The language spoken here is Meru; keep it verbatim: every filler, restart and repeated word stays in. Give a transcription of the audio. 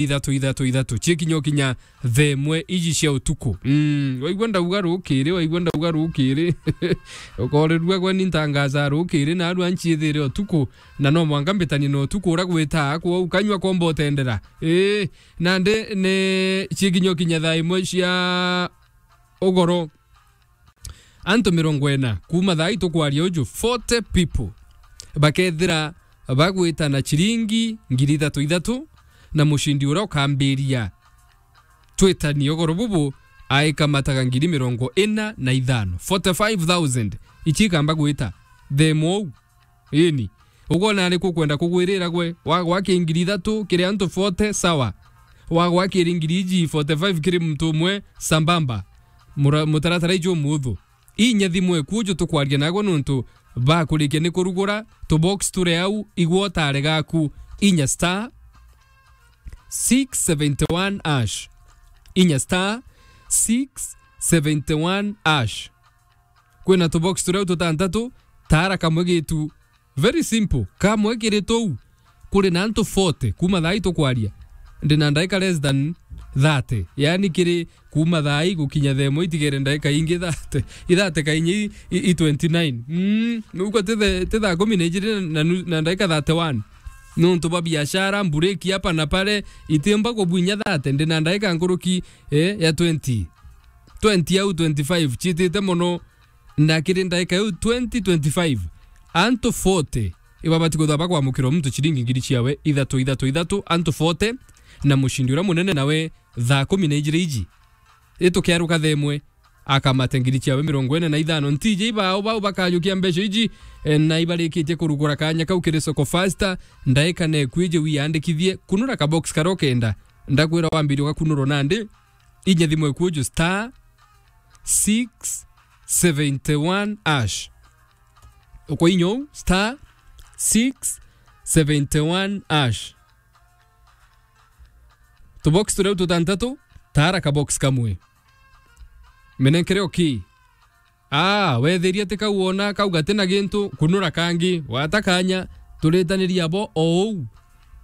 ithatu, ithatu, ithatu. Cikinya ukinya thaa imwe iji cia utuku. Mm, waigua ndauga rukiri, waigua ndauga rukiri. Ukorerua gwe ni ntangaza rukiri, na arua nchithire utuku, na no mwanka mbitanie na utuku ura gwita, kwou kanyua komba utendera. Ii, nandi ni cikinya ukinya thaa imwe cia ugoro. Antu mirongo ina, kuuma thaa ii tukwaria uju, forty people bakethira bagwita na ciringi ngiri ithatu ithatu, na mucindi uria ukambiria twitanie ugoro bubu aikamataga ngiri mirongo ina na ithano, forty-five thousand, ici ikamba gwita thaa imwe uu. Ini, ukwona ariku ukwenda kugwirira gwe? Wagwa ki ngiri ithatu kiri antu forty, sawa. Wagwa kiri ngiri iji forty-five kiri muntu umwe, sambamba. Mura-, mutaratara iju umuthu. Inya thimu eku uju tukwaria nagwe nuntu bakurikia ni kurugura, tubox turi au, igwa utare gaku. Inya star six seventy one hash. Inya star six seventy one hash. Kwina tubox turia tutantatu, tara kamwe gitu. Very simple. Kamwe kiri tuu. Kuri na antu forty, kuuma thaa ii tukwaria, ndi na ndaika less than thirty. Yani kiri kuuma thaa ii gukinya thaa imwe itigere ndaika ingi thirty. I thirty kainya i, i, i twenty-nine. Mm, nuko ti the, ti thaa kumi na ijiri na nu-, na ndaika thirty-one. Nuntu bwa biashara, mbureki hapa na pale, itimba kubwinya thirty, ndi na ndaika nkuruki, eh, ya twenty. Twenty au twenty-five, chitite mono. Na kiri ndaika iu twenty twenty-five, antu forty ibabati kwithirwa bakwamukirwa muntu ciringi ngiri ciawe ithatu, ithatu, ithatu, antu forty, na mucindi uria munene nawe thaa kumi na ijiri iji. Itukiaruka thaa imwe, akamate ngiri ciawe mirongo ina na ithano. Ntiji ibao bau bakajukia mbeca iji, eh, na ibarikitie kurugura kanya kau kiri Soko Fasta, ndaika neku iji wiyandikithie, kunura kabox karia ukenda. Ndakwira wambirie ugakunurwa nandi, inya thimu eku uju star six seventy one hash. Ukoinya uu, star six seventy one hash. Tubox turia tutantatu, tara kabox kamwe. Menenkere oki. Ah, wetheria ti kau wona, kau gati na gintu, kunura kangi, wata kanya, turitaniria bo o uu.